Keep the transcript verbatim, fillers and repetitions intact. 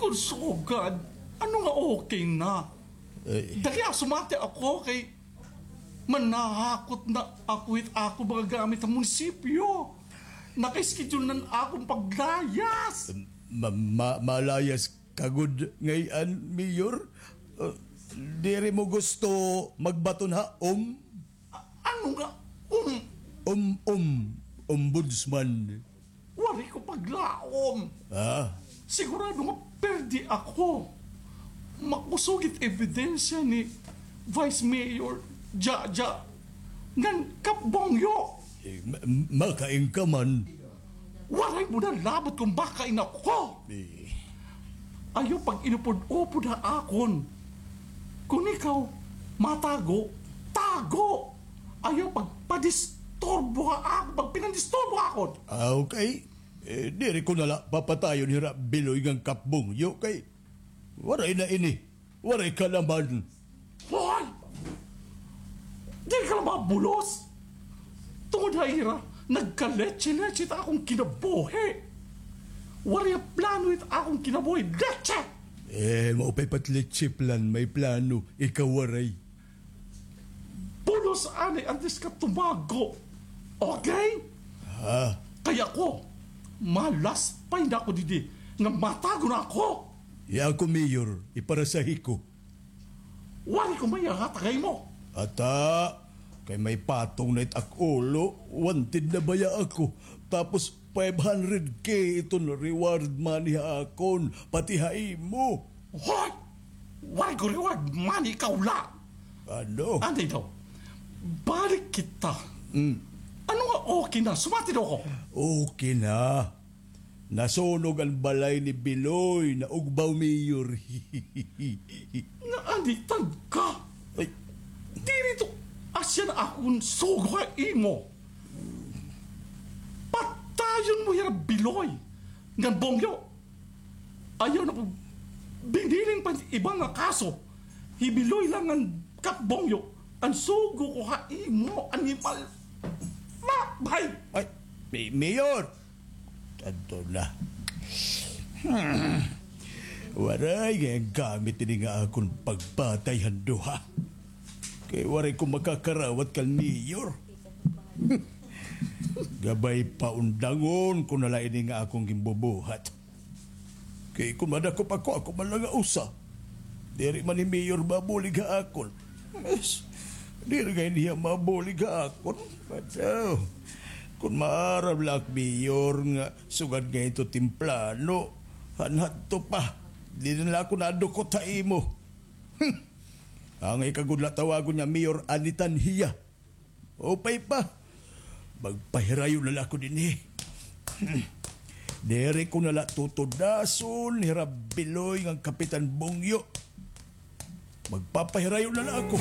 Kon sugad, ano nga okay na? Ay. Dali, ah, sumati ako kay manahakot na ako hit ako mga gamit ha munisipyo. Naka-schedule na an akon paglayas. Ma-, ma-, malayas ka gud ngay-an, Mayor? Uh, diri mo gusto magbaton ha om? A-, ano nga om? Om, om, ombudsman. Waray ko paglaom. Ah? Sigurado nga perdi ako. Makusog it ebidensya ni Vice Mayor Jaja ngan Kap Bongyo. Eh, ma-, makain ka man. Waray mo na labot kon makain ako. Eh. Ayaw pag-inupod-upod ha akon. Kon ikaw matago, tago. Ayaw pagpadisturbo ha akon, pagpinandisturbo ha akon. Ah, okay. Eh, diri ko na la papatayon hira Biloy ngan Kap Bongyo kay waray na ini. Waray ka naman. Hoy! Diri ka la mabulos? Tungod ha ira, nagkaletse-letse it akon kinabuhi. Waray plano it akon kinabuhi. Letse! Eh, maupay pa it letse plan, may plano. Ikaw waray. Bulos anay antes ka tumago. Okay? Ha? Kay ako, malaspay na ako didi nga matago na ako. Iya ako, Mayor, iparasahi ko. Waray ko may ihatag ha imo. Ata, kay may patong na it ak ulo, wanted na baya ako. Tapos, five hundred K iton reward money ha akon, pati ha imo. Hoy! Waray ko reward money, ikaw la. Ano? Anay daw, balik kita. Mm. Ano nga okay na? Sumati daw ako. Okay na. Nasunog an balay ni Biloy, naugbaw, Mayor. Naanitan ka? Ay. Diri ito asya an akon sugo ha imo. Patayon mo hira Biloy ngan Bongyo. Ayaw na pag-, binilin pa iba nga kaso. Hi Biloy la ngan Kap Bongyo an sugo ko ha imo, animal. Ma-, bay! Ay, May-, Mayor! Adto na. Hmm. Waray ngay-an gamit ini nga akon pagpatay han duha. Kay waray ko makakarawat kan Mayor. Gabay pa undangon ko na la ini nga akon ginbubuhat. Kay kon madakop ako, ako man la nga usa. Diri man hi Mayor mabulig ha akon. Yes. Diri ngay-an hiya mabulig ha akon. Badaw. Kon maaram la ak, Mayor, nga sugad ngay-an ito temprano, han hadto pa, diri na la ako nadukot ha imo. Hmm. Angay ka gud la tawagon nga Mayor Anitan hiya. Upay pa. Magpahirayo na la ako dinhi. Diri ko na la tutudason hira Biloy ngan Kapitan Bongyo. Magpapahirayo na la ako.